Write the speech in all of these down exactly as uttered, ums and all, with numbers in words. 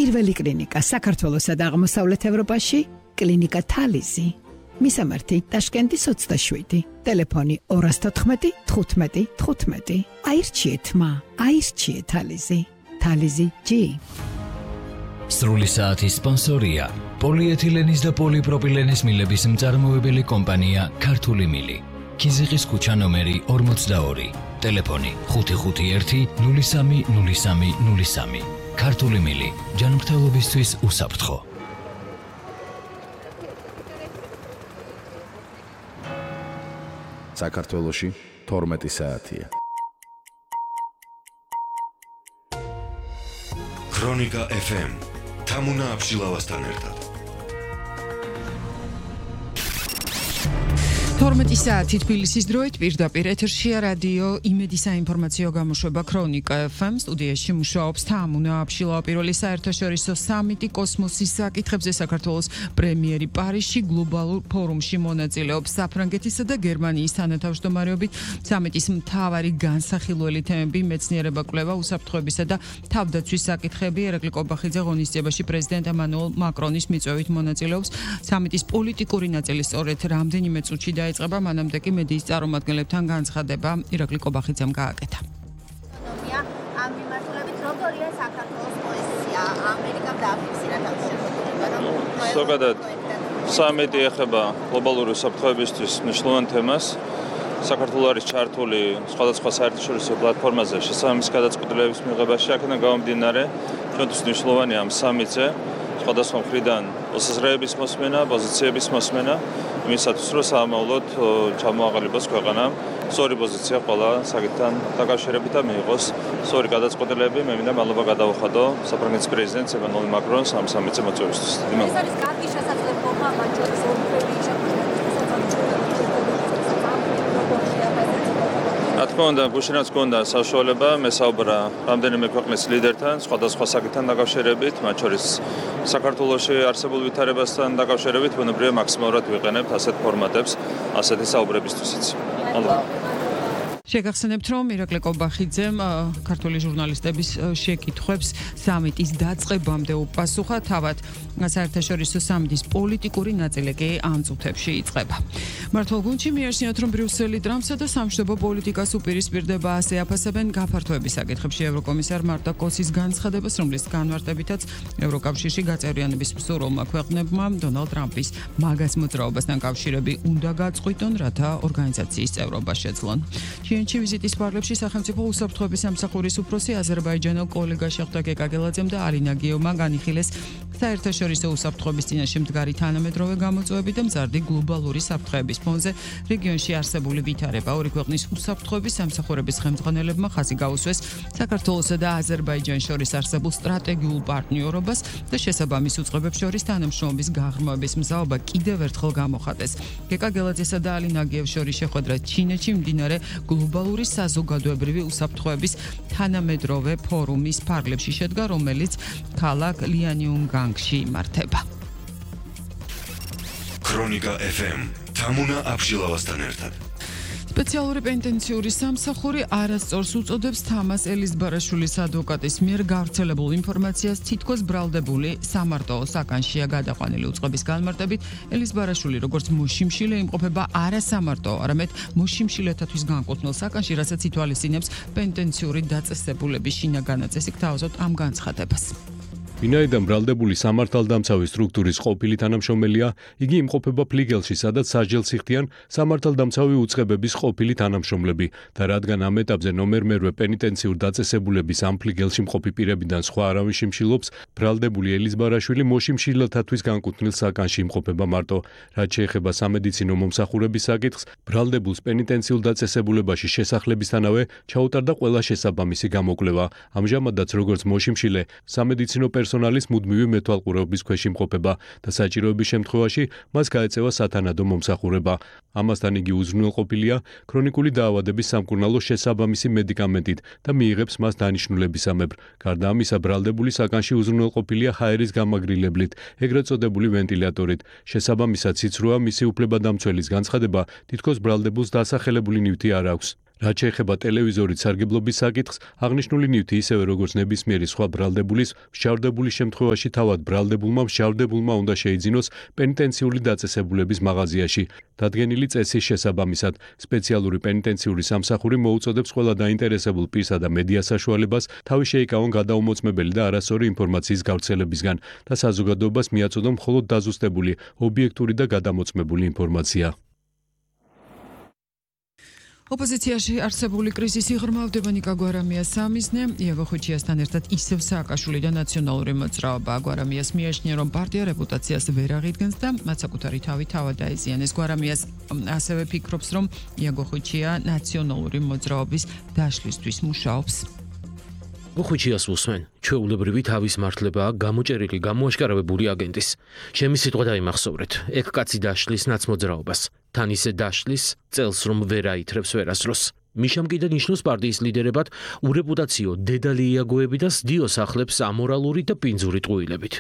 პირველი კლინიკა საქართველოსა და აღმოსავლეთ ევროპაში, კლინიკა თალიზი. მისამართი ტაშკენტის ოცდაშვიდი, ტელეფონი ორას თოთხმეტი თხუთმეტი თხუთმეტი. აირჩიეთ მა, აირჩიეთ თალიზი. თალიზი ჯი. სრული საათის სპონსორია პოლიეთილენის და პოლიპროპილენის მილების მწარმოებელი კომპანია ქართული მილი. კიზიყის ქუჩა ნომერი ორმოცდაორი, ტელეფონი ხუთი ხუთი ერთი ნული სამი ნული სამი ნული სამი. ქართული მილი, ჯანმრთელობისთვის უსაფრთხო. საქართველოში თორმეტი საათია. ქრონიკა ეფ ემ თამუნა აბშილავასთან ერთად. თორმეტი საათი თბილისის დროით პირდაპირ ეთერშია რადიო იმედი საინფორმაციო გამოშვება ქრონიკა ეფ ემ. სტუდიაში მუშაობს თამუნა აბშილავა. პირველი საერთაშორისო სამიტი კოსმოსის საკითხებზე საქართველოს პრემიერი პარიზში გლობალურ ფორუმში მონაწილეობს. საფრანგეთისა და გერმანიის თანათავმჯდომარეობით სამიტის მთავარი განსახილველი თემები მეცნიერება, კვლევა, უსაფრთხოებისა და თავდაცვის საკითხები. ერაკლი კობახიძე ღონისძიებაში პრეზიდენტ ემანუელ მაკრონის მიწვევით მონაწილეობს. სამიტის პოლიტიკური ნაწილი სწორედ რამდენიმე წუთში და იწყება, მანამდე კი მედიის წარმომადგენლებთან განცხადება ირაკლი კობახიძემ გააკეთა. ამ მიმართულებით როგორია საქართველოს პოზიცია? ამერიკამ დააფიქსირა თავის შეფასება, რომ ზოგადად სამიტი ეხება გლობალური უსაფრთხოებისთვის მნიშვნელოვან თემას. საქართველოს არის ჩართული სხვადასხვა საერთაშორისო პლატფორმაზე შესაბამის გადაწყვეტილების მიღებაში. აქედან გამომდინარე, ჩვენთვის მნიშვნელოვანია ამ სამიტზე სხვადასხვა მხრიდან მოსაზრებების მოსმენა, პოზიციების მოსმენა, იმისათვის რომ საამავლოდ ჩამოაყალიბოს ქვეყანა სწორი პოზიცია ყველა საკითხთან დაკავშირებით და მიიღოს სწორი გადაწყვეტილება. მე მინდა მადლობა გადავუხადო საფრანგეთის პრეზიდენტს ემანუელ მაკრონს ამ სამიტზე მოწვევისთვის. ეს არის კარგი შესაძლებლობა მათ შორის ოფიციალური რა თქმა უნდა, გუშინაც გქონდა საშუალება მესაუბრა რამდენიმე ქვეყნის ლიდერთან სხვადასხვა საკითხთან დაკავშირებით, მათ შორის საქართველოში არსებულ ვითარებასთან დაკავშირებით, ბუნებრივია მაქსიმალურად ვიყენებთ ასეთ ფორმატებს, ასეთი საუბრებისთვისაც. მადლობა. შეგახსენებთ, რომ ირაკლი კობახიძემ ქართული ჟურნალისტების შეკითხვებს სამიტის დაწყებამდე უპასუხა. თავად საერთაშორისო სამიტის პოლიტიკური ნაწილი კი ამ წუთებში იწყება. მართლ გუნდში მიაჩნიათ, რომ ბრიუსელი ტრამპსა და სამშვიდობო პოლიტიკას უპირისპირდება, ასე აფასებენ გაფართოების საკითხებში ევროკომისარ მარტა კოცის განცხადებას, რომლის განმარტებითაც ევროკავშირში გაწევრიანების მსურველმა ქვეყნებმა დონალდ ტრამპის მაგას მოძრაობასთან კავშირები უნდა გაწყვიტონ, რათა ორგანიზაციის წევრობა შეძლონ. ჩინეთში ვიზიტის პარლებში სახელმწიფო უსაფრთხოების სამსახურის უფროსი აზერბაიჯანელ კოლეგა შეხვდა გეკაგელაძემ და არინა გიოვმა განიხილეს საერთაშორისო უსაფრთხოების წინაშე მდგარი თანამედროვე გამოწვევები და მზარდი გლობალური საფრთხეების ფონზე რეგიონში არსებული ვითარება. ორი ქვეყნის უსაფრთხოების სამსახურების ხელმძღვანელებმა ხაზი გაუსვეს საქართველოსა და აზერბაიჯანს შორის არსებულ სტრატეგიულ პარტნიორობას და შესაბამის უწყებებს შორის თანამშრომლობის გაღრმავების მზაობა კიდევ ერთხელ გამოხატეს. გეკაგელაძესა და არინა გიოვს შორის შეხვედრა ჩინეთში მდინარე გლობალური საზოგადოებრივი უსაფრთხოების თანამედროვე ფორუმის ფარგლებში შედგა, რომელიც ქალაქ ლიანიუნგანგში იმართება. ქრონიკა ეფ ემ თამუნა აბშილავასთან ერთად. სპეციალური პენტენციური სამსახური არასწორს უწოდებს თამას ელიზბარაშვილის ადვოკატის მიერ გავრცელებულ ინფორმაციას თითქოს ბრალდებული სამარტო საკანშია გადაყვანილი. უწყების განმარტებით ელიზბარაშვილი როგორც მოშიმშილე იმყოფება არა სამარტო, არამედ მოშიმშილეთათვის განკუთვნილ საკანში, რასაც ითვალისწინებს პენტენციური დაწესებულების შინაგანი წესი. გთავაზობთ ამ განცხადებას. ვინაიდან ბრალდებული სამართალდამცავი სტრუქტურის ყოფილი თანამშრომელია, იგი იმყოფება ფლიგელში, სადაც სასჯელს იხდიან სამართალდამცავი უწყებების ყოფილი თანამშრომლები და რადგან ამ ეტაპზე ნომერ მერვე პენიტენციურ დაწესებულების ამ ფლიგელში მყოფი პირებიდან სხვა არავინ შიმშილობს, ბრალდებული ელიზბარაშვილი მოშიმშილეთათვის განკუთვნილ საკანში იმყოფება მარტო. რაც შეეხება სამედიცინო მომსახურების საკითხს, ბრალდებულს პენიტენციურ დაწესებულებაში შესახლებისთანავე ჩაუტარდა ყველა შესაბამისი გამოკვლევა. ამჟამადაც როგორც მოშიმშილე, სამედიცინო პერსონალის მუდმივი მეთვალყურეობის ქვეშ იმყოფება და საჭიროების შემთხვევაში მას გაეწევა სათანადო მომსახურება. ამასთან იგი უზრუნველყოფილია ქრონიკული დაავადების სამკურნალო შესაბამისი მედიკამენტით და მიიღებს მას დანიშნულებისამებრ. გარდა ამისა, ბრალდებული საკანში უზრუნველყოფილია ჰაერის გამაგრილებლით, ეგრეთ წოდებული ვენტილატორით. შესაბამისად, სიცრუა მისი უფლებადამცველის განცხადება თითქოს ბრალდებულს დასახელებული ნივთი არ აქვს. რაც შეეხება ტელევიზორით სარგებლობის საკითხს, აღნიშნული ნივთი ისევე როგორც ნებისმიერი სხვა ბრალდებულის, მსჯავრდებული შემთხვევაში თავად ბრალდებულმა მსჯავრდებულმა უნდა შეიძინოს პენიტენციური დაწესებულების მაღაზიაში. დადგენილი წესის შესაბამისად, სპეციალური პენიტენციური სამსახური მოუწოდებს ყველა დაინტერესებულ პირსა და მედია საშუალებას თავი შეიკავონ გადაუმოწმებელი და არასწორი ინფორმაციის გავრცელებისგან და საზოგადოებას მიაწოდონ მხოლოდ დაზუსტებული, ობიექტური და გადამოწმებული ინფორმაცია. ოპოზიციაში არსებული კრიზისი ღრმავდება ნიკა გვარამიას სამიზნე, იაგო ხვიჩიასთან ერთად ისევ სააკაშვილი და ნაციონალური მოძრაობა. გვარამიას მიაჩნია, რომ პარტია რეპუტაციას ვერ აღიდგენს და მათ საკუთარი თავი თავად დაიზიანეს. გვარამიას ასევე ფიქრობს, რომ იაგო ხვიჩია ნაციონალური მოძრაობის დაშლისთვის მუშაობს. გუხვიჩიას უსმენ, ჩვეულებრივი თავის მართლებაა გამოჭერილი, გამოაშკარავებული აგენტის. ჩემი სიტყვა დაიმახსოვრეთ, ეგ კაცი დაშლის ნაცმოძრაობას. თან ისე დაშლის, წელს რომ ვერ აითრებს ვერასდროს. მიშამ კიდე ნიშნავს პარტიის ლიდერებად ურეპუტაციო დედალი იაგოები და სდიოს ახლებს ამორალური და პინძური ტყუილებით.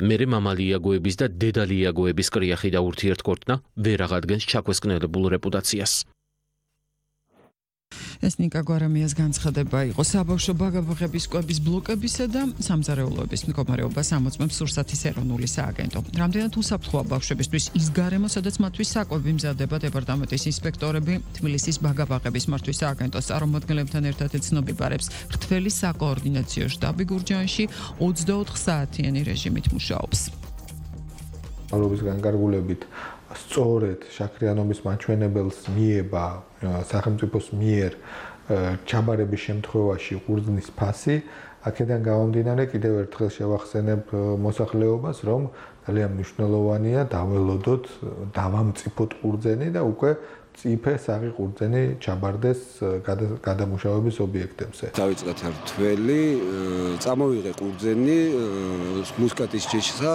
მერე მამალი იაგოების და დედალი იაგოების კრიახი და ურთიერთქორწნა ვერ აღადგენს ჩაქვესკნელებულ რეპუტაციას. ეს ნიკა გვარამიას განცხადება იყო საბავშვო ბაგაბაღების კვების ბლოკებისა და სამზარეულოების მდგომარეობას ამოწმებს სურსათის ეროვნული სააგენტო. რამდენად უსაფრთხოა ბავშვებისთვის ის გარემო, სადაც მათთვის საკვები მზადდება დეპარტამენტის ინსპექტორები, თბილისის ბაგაბაღების მართვის სააგენტოს წარმომადგენლებთან ერთად ეცნობიბარებს. რთველი საკოორდინაციო შტაბი გურჯაანში ოცდაოთხ საათიანი რეჟიმით მუშაობს. მალობის განკარგულებით სწორედ შაქრიანობის მაჩვენებელს მიება სახელმწიფოს მიერ ჩაბარების შემთხვევაში ყურძნის ფასი. აქედან გამომდინარე კიდევ ერთხელ შევახსენებ მოსახლეობას, რომ ძალიან მნიშვნელოვანია დაველოდოთ, დავამწიფოთ ყურძენი და უკვე წიფე საღი ყურძენი ჩაბარდეს გადამუშავების ობიექტებზე. დავიწყეთ რთველი, წამოვიღე ყურძენი მუსკატის ჯიშსა.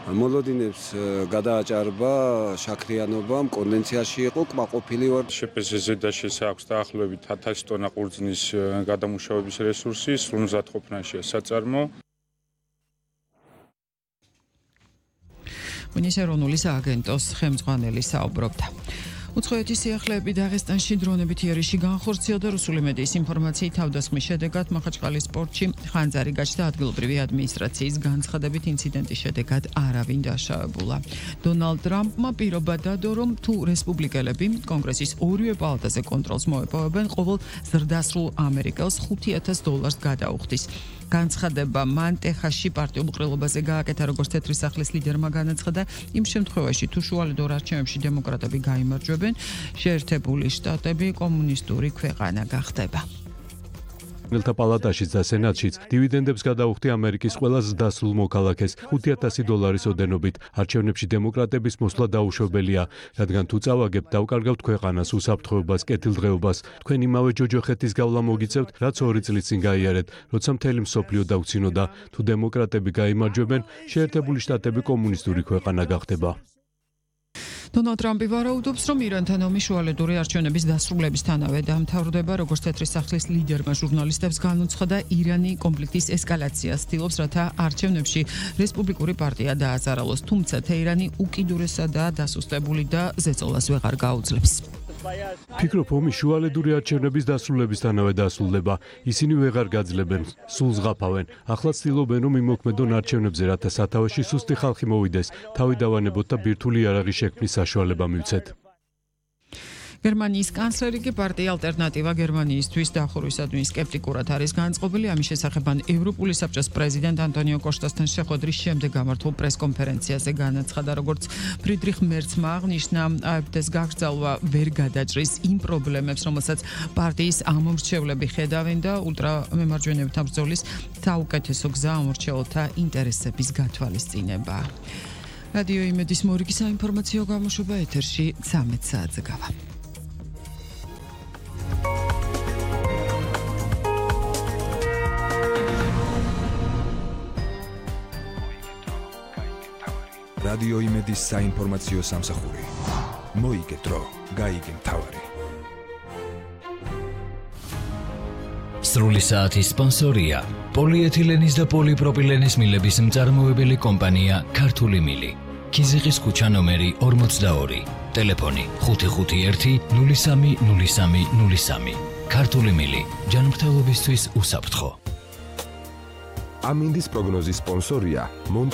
მოლოდინებს გადააჭარბა შაქრიანობამ, კონდენციაში იყო, კმაყოფილი ვარ. შეპეზეზე და შესაქვს დაახლოებით ათასი ტონა ყურძნის გადამუშავების რესურსი, სრულ მზადყოფნაშია საწარმო. მინისტრ ეროვნული სააგენტოს ხელმძღვანელი საუბრობდა. უცხოეთის სიახლეები დაღესტანში დრონებით იერიში განხორციელდა. რუსული მედიის ინფორმაციით თავდასხმის შედეგად მახაჩყალის პორტში ხანძარი გაჩნდა. ადგილობრივი ადმინისტრაციის განცხადებით ინციდენტის შედეგად არავინ დაშავებულა. დონალდ ტრამპმა პირობა დადო, რომ თუ რესპუბლიკელები კონგრესის ორივე პალატაზე კონტროლს მოეპოვებენ, ყოველ ზრდასრულ ამერიკელს ხუთი ათას დოლარს გადაუხდის. განცხადება მან ტეხასში პარტიულ ყრილობაზე გააკეთა, როგორც თეთრი სახლის ლიდერმა განაცხადა. იმ შემთხვევაში, თუ შუალედურ არჩევნებში დემოკრატები გაიმარჯვებენ, შეერთებული შტატები კომუნისტური ქვეყანა გახდება. მელთა პალატაშიც და სენატშიც დივიდენდებს გადაუხდი ამერიკის ყველა ზრდასრულ მოქალაქეს ხუთი ათასი დოლარის ოდენობით. არჩევნებში დემოკრატების მოსვლა დაუშვებელია, რადგან თუ წავაგებთ, დავკარგავთ ქვეყანას, უსაფრთხოებას, კეთილდღეობას. თქვენ იმავე ჯოჯოხეთის გავლა მოგიწევთ, რაც ორი წლის წინ გაიარეთ, როცა მთელი მსოფლიო დაგვცინოდა. თუ დემოკრატები გაიმარჯვებენ, შეერთებული შტატები კომუნისტური ქვეყანა გახდება. დონალდ ტრამპი ვარაუდობს, რომ ირანთან ომი შუალედური არჩევნების დასრულებისთანავე დამთავრდება. როგორც თეთრი სახლის ლიდერმა ჟურნალისტებს განუცხადა, ირანი კონფლიქტის ესკალაციას ცდილობს, რათა არჩევნებში რესპუბლიკური პარტია დააზარალოს. თუმცა თეირანი უკიდურესადაა დასუსტებული და ზეწოლას ვეღარ გაუძლებს. ფიქრობ, ომი შუალედური არჩევნების დასრულებისთანავე დასრულდება. ისინი ვეღარ გაძლებენ, სულ ზღაფავენ. ახლა ცდილობენ, რომ იმოქმედონ არჩევნებზე, რათა სათავეში სუსტი ხალხი მოვიდეს, თავი დავანებოთ და ბირთვული იარაღის შექმნის საშუალება მივცეთ. გერმანიის კანცლერი კი პარტია ალტერნატივა გერმანიისთვის დახურვისადმი სკეპტიკურად არის განწყობილი. ამის შესახებ ევროპული საბჭოს პრეზიდენტ ანტონიო კოშტასთან შეხვედრის შემდეგ გამართულ პრესკონფერენციაზე განაცხადა, როგორც ფრიდრიხ მერცმა აღნიშნა, AfD-ს გაგრძელვა ვერ გადაჭრის იმ პრობლემებს, რომელსაც პარტიის ამომრჩევლები ხედავენ და ულტრამემარჯვენეებთან ბრძოლის საუკეთესო გზა ამორჩეულთა ინტერესების გათვალისწინება. რადიო იმედის მორიგი საინფორმაციო გამოშვება ეთერში ცამეტ საათზე გავა. რადიო იმედის საინფორმაციო სამსახური. მოიგე დრო, გაიგე მთავარი. სრული საათის სპონსორია პოლიეთილენის და პოლიპროპილენის მილების მწარმოებელი კომპანია ქართული მილი. ქიზიყის ქუჩა ნომერი ორმოცდაორი. ტელეფონი ხუთი ხუთი ერთი ნული სამი ნული სამი ნული სამი. ქართული მილი, ჯანმრთელობისთვის უსაფრთხო. ამინდის პროგნოზის სპონსორია მონტ